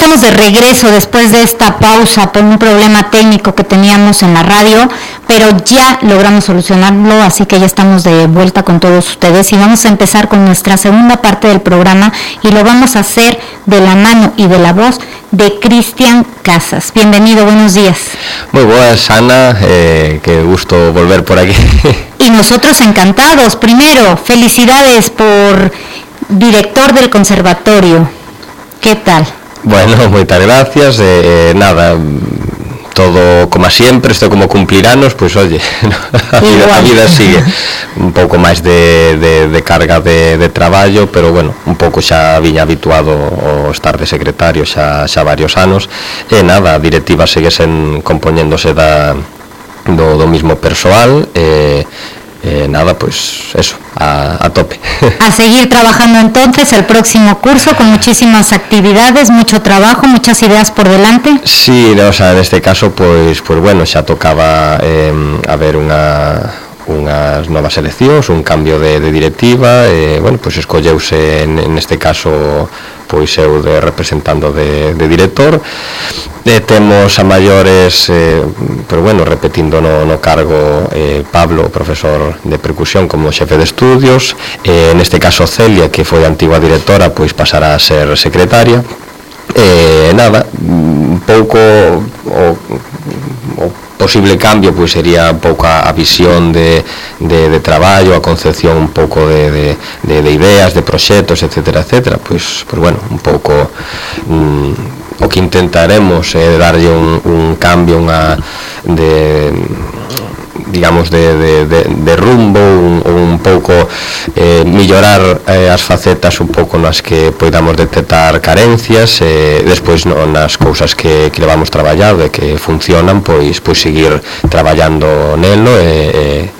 estamos de regreso después de esta pausa por un problema técnico que teníamos en la radio, pero ya logramos solucionarlo, así que ya estamos de vuelta con todos ustedes y vamos a empezar con nuestra segunda parte del programa y lo vamos a hacer de la mano y de la voz de Cristian Casas. Bienvenido, buenos días. Muy buenas, Ana, qué gusto volver por aquí. Y nosotros encantados. Primero, felicidades por director del conservatorio. ¿Qué tal? Bueno, muchas gracias. Nada, todo como siempre, esto como cumplir anos, pues oye, a vida sigue. Un pouco máis de carga de traballo, pero bueno, un pouco xa viña habituado ao estar de secretario xa varios anos. E nada, a directiva segue compoñéndose do mismo persoal. Nada, pues eso, a tope. A seguir trabajando entonces el próximo curso con muchísimas actividades, mucho trabajo, muchas ideas por delante. Sí, o sea, en este caso pues bueno, xa tocaba haber unhas novas eleccións, un cambio de directiva, bueno, pues escolleuse en este caso pois eu representando de director. Temos a maiores, pero bueno, repetindo no cargo, Pablo, profesor de percusión como xefe de estudios, neste caso Celia, que foi a antigua directora, pois pasará a ser secretaria. Nada, un pouco o posible cambio pois sería un pouco a visión de traballo, a concepción un pouco de ideas, de proxectos, etcétera, pois bueno, un pouco o que intentaremos é darlle un cambio, digamos de rumbo, un pouco mellorar as facetas un pouco nas que podamos detectar carencias, despois nas cousas que levamos traballado e que funcionan, pois seguir traballando nelo e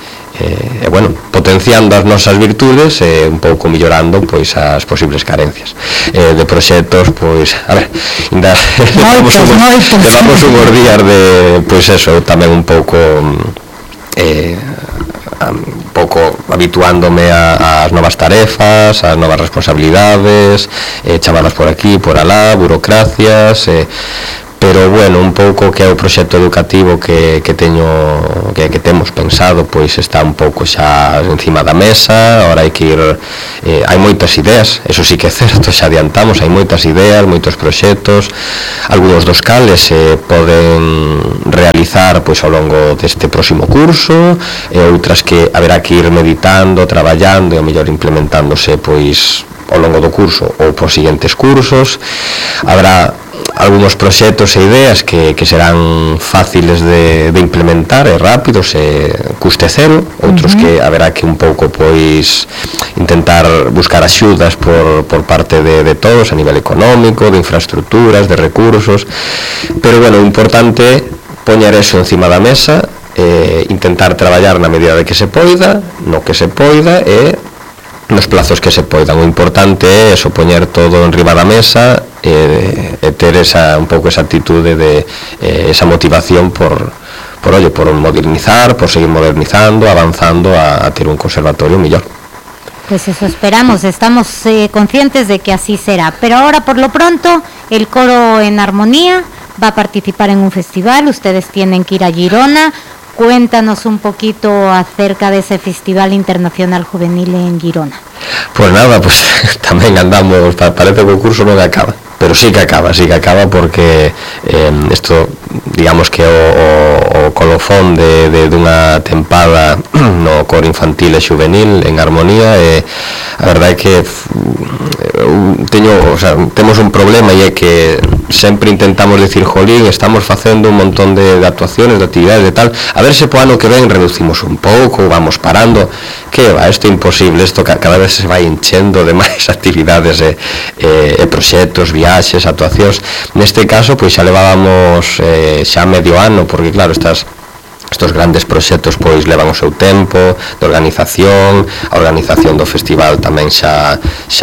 bueno, potenciando as nosas virtudes e un pouco mellorando pois as posibles carencias de proxectos. Pois a ver, ainda levamos unhos días de pois eso, tamén un pouco habituándome ás novas tarefas, ás novas responsabilidades, chamadas por aquí, por alá, burocracias, pero bueno, un pouco que é o proxecto educativo que temos pensado, pois está un pouco xa encima da mesa. Ahora hai que ir, hai moitas ideas, eso sí que é certo, xa adiantamos, hai moitas ideas, moitos proxectos, algúns dos cales se poden realizar pois ao longo deste próximo curso, e outras que haberá que ir meditando, traballando e ao mellor implementándose pois ao longo do curso ou por seguintes cursos. Habrá algúns proxectos e ideas que serán fáciles de implementar e rápidos e custe cero, outros que haberá que un pouco pois intentar buscar axudas por parte de todos a nivel económico, de infraestructuras, de recursos, pero bueno, o importante é poñer eso encima da mesa, intentar traballar na medida de que se poida, no que se poida e nos plazos que se poidan. O importante é eso, poñer todo en riba da mesa e ter un pouco esa actitude de esa motivación por modernizar, por seguir modernizando, avanzando a ter un conservatorio mellor. Pues eso esperamos, estamos conscientes de que así será, pero ahora por lo pronto el coro en armonía va a participar en un festival, ustedes tienen que ir a Girona. Cuéntanos un poquito acerca de ese Festival Internacional Juvenil en Girona. Pues nada, pues tamén andamos, parece que o curso non acaba, pero sí que acaba porque isto, digamos que o colofón de unha tempada no coro infantil e juvenil en armonía, e a verdade é que temos un problema, e é que sempre intentamos decir, jolín, estamos facendo un montón de actuaciones, de actividades, de tal, a ver se po ano que ven reducimos un pouco, vamos parando, que va, isto é imposible, isto cada vez se vai enchendo de máis actividades e proxectos, viaxes, actuacións. Neste caso, pois xa levábamos xa medio ano, porque claro, estos grandes proxectos pois levan o seu tempo de organización, a organización do festival tamén xa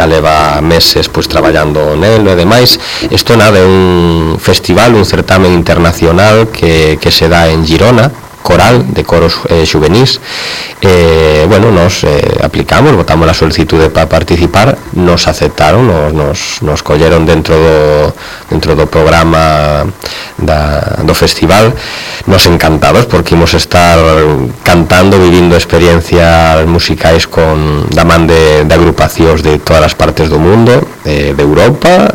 leva meses pois traballando nelo e demais. Isto nada, é un festival, un certamen internacional que se dá en Girona, coral, de coros xuvenís. Bueno, nos aplicamos, botamos a solicitude para participar, nos aceptaron, nos colleron dentro do programa do festival, nos encantados porque imos estar cantando, vivindo experiencias musicais da man de agrupacións de todas as partes do mundo, de Europa,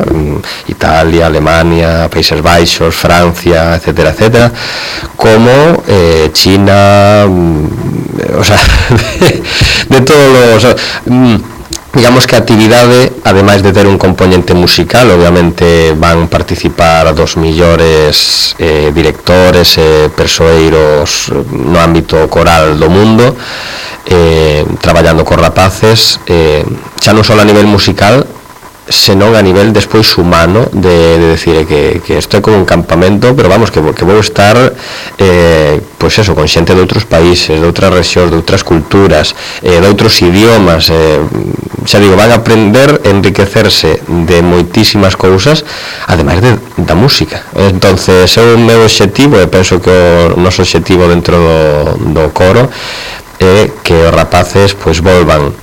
Italia, Alemania, Países Baixos, Francia, etcétera, etcétera, como China, o sea, de todos los... digamos que a actividade, ademais de ter un componente musical, obviamente van participar dos millores directores e persoeiros no ámbito coral do mundo, traballando cos rapaces, xa non só a nivel musical, senón a nivel despois humano, de decir que isto é como un campamento, pero vamos, que vou estar pois eso, con xente de outros países, de outras rexións, de outras culturas, de outros idiomas, xa digo, van a aprender, enriquecerse de moitísimas cousas, ademais da música. Entonces é o meu obxectivo, e penso que o noso obxectivo dentro do coro é que os rapaces pois volvan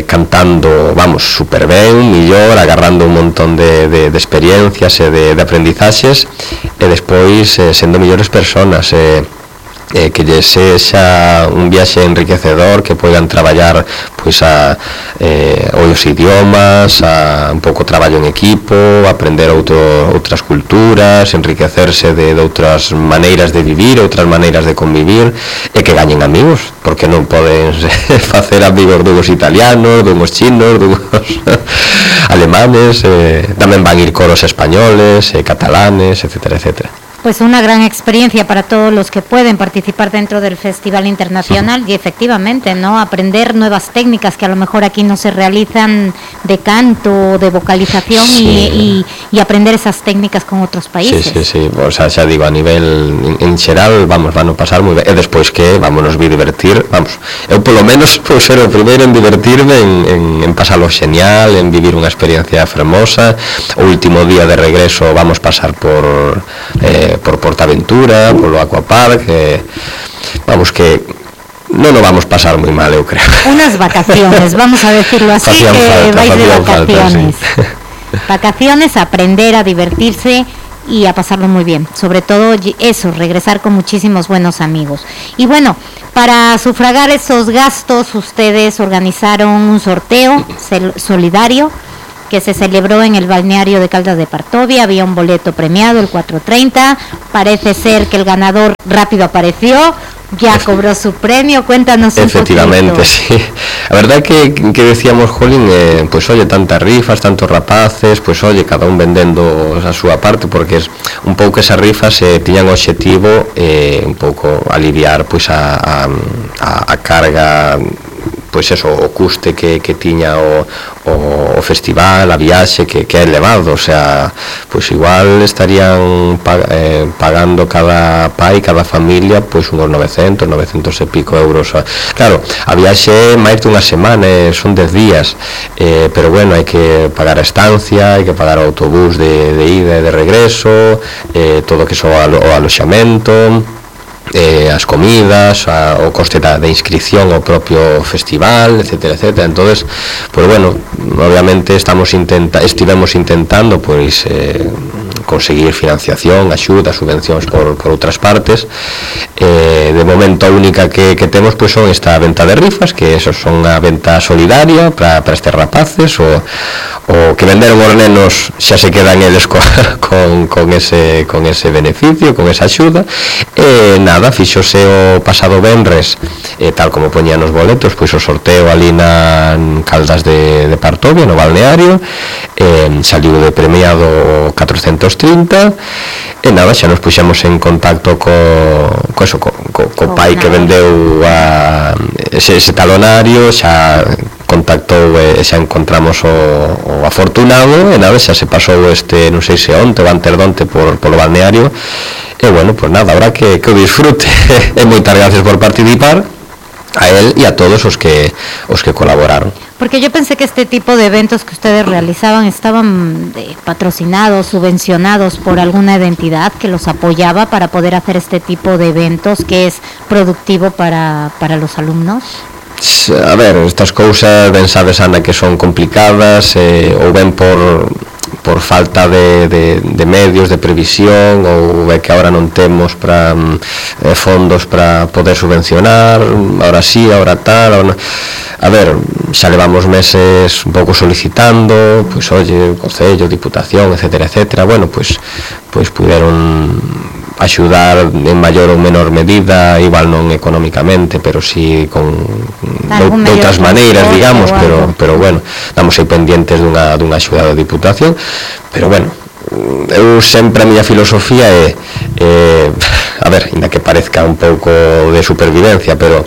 cantando, vamos, super ben, millor, agarrando un montón de experiencias e de aprendizaxes, e despois sendo millores personas, que lle sexa un viaxe enriquecedor, que poidan traballar pois os idiomas, un pouco traballo en equipo, aprender outras culturas, enriquecerse de outras maneiras de vivir, outras maneiras de convivir, e que gañen amigos, porque non poden facer amigos dugos italianos, dugos chinos, dugos alemanes, tamén van ir coros españoles, catalanes, etcétera, etcétera. Pues una gran experiencia para todos los que pueden participar dentro del Festival Internacional y efectivamente, ¿no? Aprender nuevas técnicas que a lo mejor aquí no se realizan de canto, de vocalización, sí. y aprender esas técnicas con otros países. Sí, o sea, xa digo, a nivel en xeral, vamos, van a pasar moi ben, e despois que vamos nos divertir, vamos, eu polo menos vou ser o primeiro en divertirme, en pasarlo genial, en vivir unha experiencia fermosa. O último día de regreso vamos pasar por Portaventura, polo Aquapark, vamos, que non nos vamos pasar moi mal, eu creo. Unas vacaciones, vamos a decirlo así, vais de vacaciones. Falta, sí. Vacaciones, aprender a divertirse y a pasarlo muy bien. Sobre todo eso, regresar con muchísimos buenos amigos. Y bueno, para sufragar esos gastos, ustedes organizaron un sorteo solidario que se celebró en el balneario de Caldas de Partovia. Había un boleto premiado, el 430. Parece ser que el ganador rápido apareció, ya cobró su premio. Cuéntanos un poquito. Efectivamente, sí. A verdad que decíamos, jolín, pues oye, tantas rifas, tantos rapaces, pues oye, cada un vendendo a súa parte, porque es un pouco esas rifas tiñan o obxectivo un pouco aliviar pues a carga, pois eso, o custe que tiña o festival, a viaxe, que é elevado, o sea, pois igual estarían pagando cada pai, cada familia, pois uns 900 e pico euros. Claro, a viaxe máis dunha semana, son 10 días, pero bueno, hai que pagar a estancia, hai que pagar o autobús de ida e de regreso, todo que so o aloxamento, as comidas, o coste de inscripción ao propio festival, etcétera, etcétera. Entonces, pues bueno, obviamente estivemos intentando pois conseguir financiación, axuda, subvencións por outras partes. De momento a única que temos pois son esta venta de rifas, que eso son a venta solidaria para estes rapaces, o que venderon os nenos xa se quedan eles con ese beneficio, con esa axuda. Nada, fixose o pasado venres, tal como poñían os boletos, pois o sorteo ali na Caldas de Partovia, no balneario, saliu de premiado 430, e nada, xa nos puxemos en contacto co pai que vendeu ese talonario, xa contactou e xa encontramos o afortunado, e nada, xa se pasou non sei se onte ou anterdonte polo balneario. E bueno, pues nada, habrá que o disfrute. E moitas gracias por participar. a él e a todos os que colaboraron. Porque yo pensé que este tipo de eventos que ustedes realizaban estaban patrocinados, subvencionados por alguna entidad que los apoyaba para poder hacer este tipo de eventos que es productivo para los alumnos. A ver, estas cousas ben sabes, Ana, que son complicadas, ou ben por falta de medios, de previsión, ou é que agora non temos para fondos para poder subvencionar, ahora sí, ahora tal, ahora... A ver, xa levamos meses un pouco solicitando, pois oye, Concello, Diputación, etcétera, etcétera, bueno, pois puderon axudar en maior ou menor medida, igual non económicamente, pero sí con de outras maneiras, digamos, pero bueno, estamos aí pendientes dunha axuda da Diputación, pero bueno, eu sempre a miña filosofía é a ver, ainda que parezca un pouco de supervivencia, pero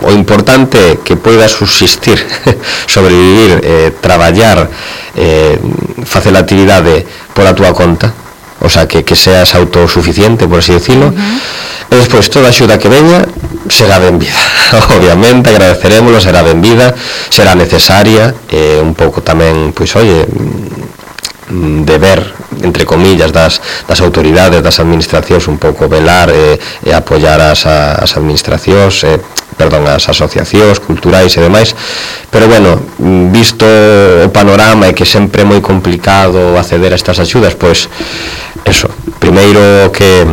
o importante é que poidas subsistir, sobrevivir, traballar, facer a actividade por a túa conta, o sea, que seas autosuficiente, por así decirlo, e despois toda a axuda que veña será benvida, obviamente, agradeceremoslo, será benvida, será necesaria, un pouco tamén, pois, oye, deber, entre comillas, das autoridades, das administracións, un pouco velar e apoiar as administracións, as asociacións culturais e demais, pero bueno, visto o panorama e que sempre é moi complicado acceder a estas axudas, pois, eso, primeiro que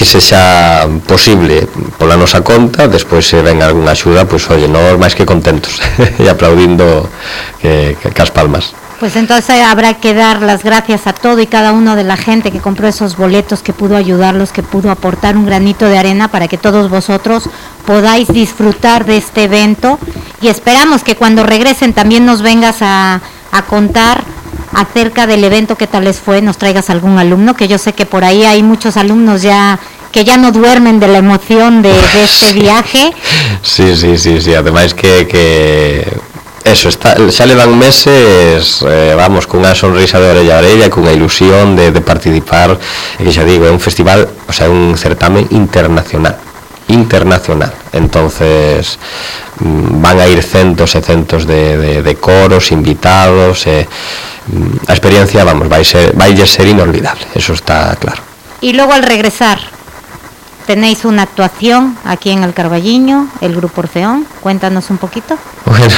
sexa posible pola nosa conta, despois se ven algunha axuda, pois, oye, nós máis que contentos e aplaudindo que as palmas. Pues entonces habrá que dar las gracias a todo y cada uno de la gente que compró esos boletos, que pudo ayudarlos, que pudo aportar un granito de arena para que todos vosotros podáis disfrutar de este evento, y esperamos que cuando regresen también nos vengas a contar acerca del evento, qué tal les fue, nos traigas algún alumno, que yo sé que por ahí hay muchos alumnos que ya no duermen de la emoción de este viaje. Sí, ademais que eso, xa levan meses, vamos, cunha sonrisa de orella a orella, cunha ilusión de participar, e que xa digo, é un festival, o sea, un certamen internacional, entonces van a ir centos e centos de coros, invitados, a experiencia, vamos, vai ser inolvidable, eso está claro. Y luego al regresar, tenéis una actuación aquí en el Carballiño, el Grupo Orfeón, cuéntanos un poquito. Bueno,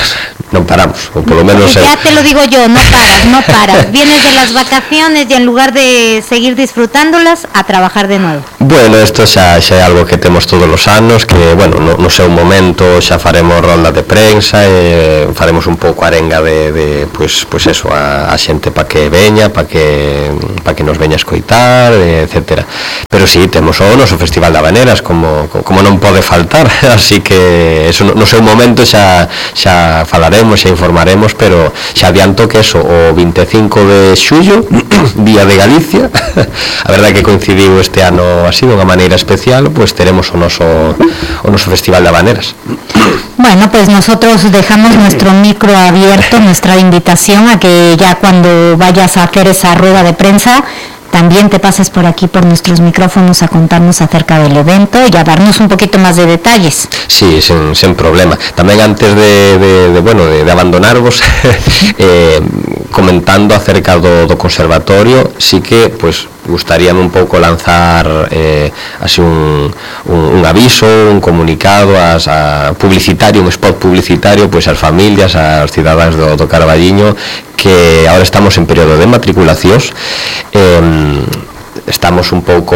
non paramos, ou polo menos... Ya te lo digo yo, no paras, vienes de las vacaciones y en lugar de seguir disfrutándolas, a trabajar de nuevo. Bueno, isto xa é algo que temos todos os anos, que, bueno, no seu momento xa faremos ronda de prensa e faremos un pouco arenga de pois eso, a xente pa que veña, pa que nos veña a escoitar, etcétera. Pero sí, temos o noso Festival de Habaneras, como non pode faltar, así que eso no seu momento xa falaremos, xa informaremos, pero xa adianto que eso, o 25 de xullo, Día de Galicia, a verdade que coincidiu este ano así, de unha maneira especial, pues teremos o noso Festival de Habaneras. Bueno, pues nosotros dejamos nuestro micro abierto, nuestra invitación a que ya cuando vayas a hacer esa rueda de prensa, también te pases por aquí, por nuestros micrófonos, a contarnos acerca del evento y a darnos un poquito más de detalles. Sí, sin problema. Tamén antes de abandonarvos, comentando acerca do conservatorio, sí que, pues, gustaríame un pouco lanzar así un aviso, un comunicado publicitario, un spot publicitario, pois ás familias, aos cidadáns do Carballiño, que ahora estamos en período de matriculacións, estamos un pouco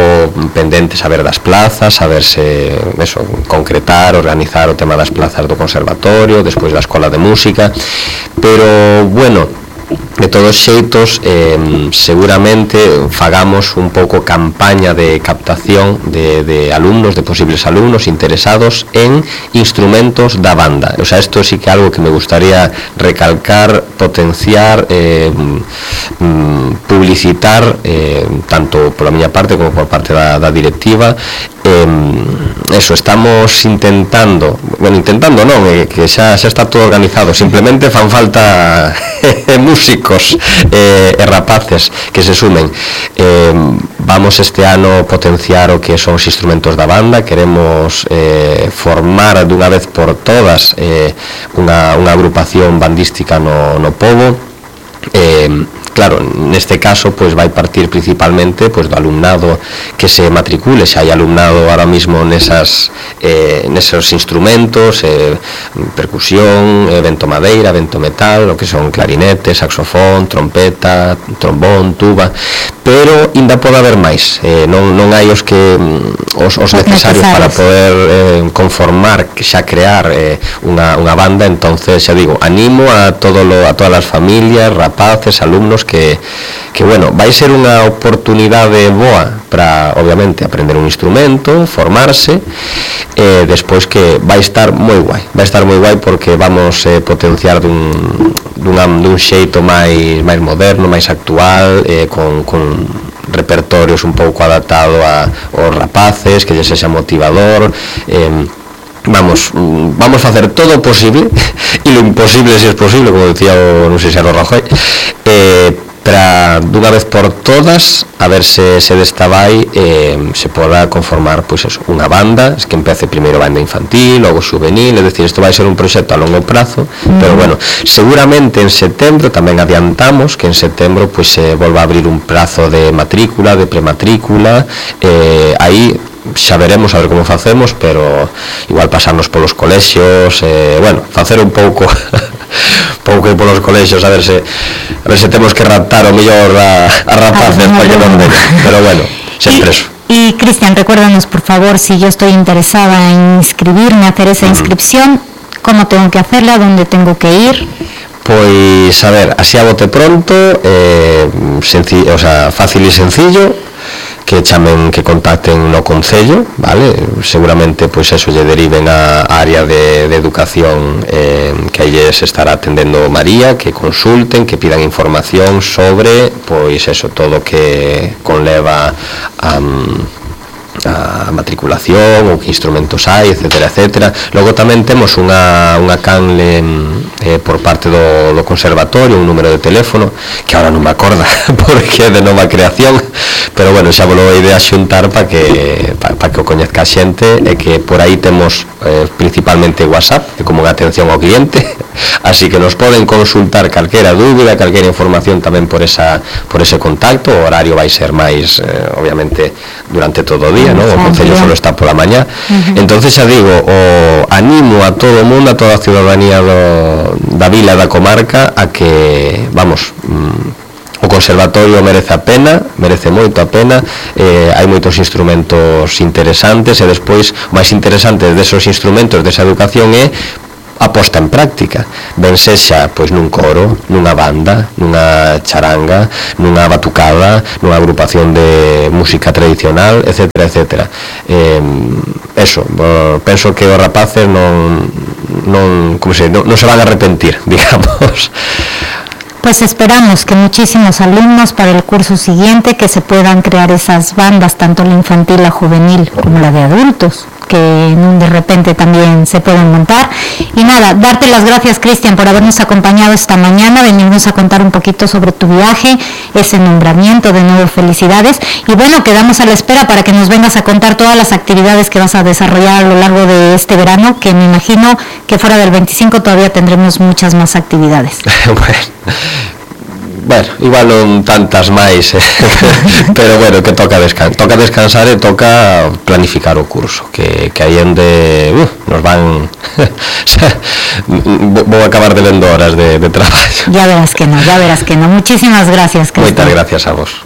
pendentes a ver das plazas, a ver se eso, concretar, organizar o tema das plazas do conservatorio, despois da escola de música, pero bueno, de todos xeitos, seguramente fagamos un pouco campaña de captación de alumnos, de posibles alumnos interesados en instrumentos da banda. O sea, esto sí que é algo que me gustaría recalcar, potenciar, publicitar, tanto pola miña parte como por parte da directiva, eso, estamos intentando non, que xa está todo organizado, simplemente fan falta músicos e rapaces que se sumen. Vamos este ano potenciar o que son os instrumentos da banda, queremos formar dunha vez por todas unha agrupación bandística no pobo. Claro, neste caso pois vai partir principalmente pois do alumnado que se matricule, xa hai alumnado ahora mismo nesos instrumentos, percusión, vento madeira, vento metal, o que son clarinete, saxofón, trompeta, trombón, tuba, pero ainda pode haber máis, non hai os necesarios para poder conformar, xa crear unha banda. Entonces, xa digo, animo a todas as familias, rapaces, alumnos que bueno, vai ser unha oportunidade boa para, obviamente, aprender un instrumento, formarse, despois que vai estar moi guai porque vamos potenciar dun xeito máis moderno, máis actual, con repertorios un pouco adaptado aos rapaces, que lle sexa motivador. Vamos facer todo o posible e lo imposible se es posible, como decía non sei se era o Rajoy, para dunha vez por todas a ver se desta vai se poda conformar pois eso, unha banda que empece primeiro banda infantil, logo juvenil, é dicir, isto vai ser un proxecto a longo prazo, pero bueno, seguramente en setembro tamén adiantamos que en setembro pois se volva a abrir un prazo de matrícula, de prematrícula, aí xa veremos a ver como facemos, pero igual pasarnos polos colexios, bueno, facer un pouco polos colexios, a ver se temos que raptar o mellor a rapaces para que non den, pero bueno, sempre eso. Y Cristian, recuérdanos por favor, si yo estoy interesada en inscribirme, hacer esa inscripción, ¿cómo tengo que hacerla? ¿Dónde tengo que ir? Pois, a ver, así a bote pronto, fácil e sencillo, que chamen, que contacten no Concello, vale? Seguramente pois eso lle deriven a área de educación, que aí se estará atendendo María, que consulten, que pidan información sobre pois eso, todo que conleva a matriculación, ou que instrumentos hai, etcétera. Logo tamén temos unha canle por parte do conservatorio, un número de teléfono que ahora non me acorda porque é de nova creación, pero bueno, xa volo a idea xuntar para que o coñezca a xente, e que por aí temos principalmente WhatsApp, como unha atención ao cliente, así que nos poden consultar calquera dúbida, calquera información tamén por ese contacto. O horario vai ser máis, obviamente, durante todo o día, ¿no? O Concello solo está pola mañá. Entonces, xa digo, animo a todo o mundo, a toda a ciudadanía da vila e da comarca a que, vamos, o conservatorio merece moito a pena, hai moitos instrumentos interesantes, e despois o máis interesante desos instrumentos, desa educación, é a posta en práctica, ben sexa pois nun coro, nunha banda, nunha charanga, nunha batucada, nunha agrupación de música tradicional, etcétera. Eso, penso que os rapaces non se van a arrepentir, digamos. Pues esperamos que muchísimos alumnos para el curso siguiente que se puedan crear esas bandas, tanto la infantil, la juvenil como la de adultos, que de repente también se pueden montar. Y nada, darte las gracias, Cristian, por habernos acompañado esta mañana, venirnos a contar un poquito sobre tu viaje, ese nombramiento, de nuevo felicidades, y bueno, quedamos a la espera para que nos vengas a contar todas las actividades que vas a desarrollar a lo largo de este verano, que me imagino que fuera del 25 todavía tendremos muchas más actividades. Bueno, igual non tantas máis, pero bueno, que toca descansar e toca planificar o curso, que aí onde nos van vou acabar de vendo horas de traballo. Ya verás que no. Muchísimas gracias, Cristian. Moitas gracias a vos.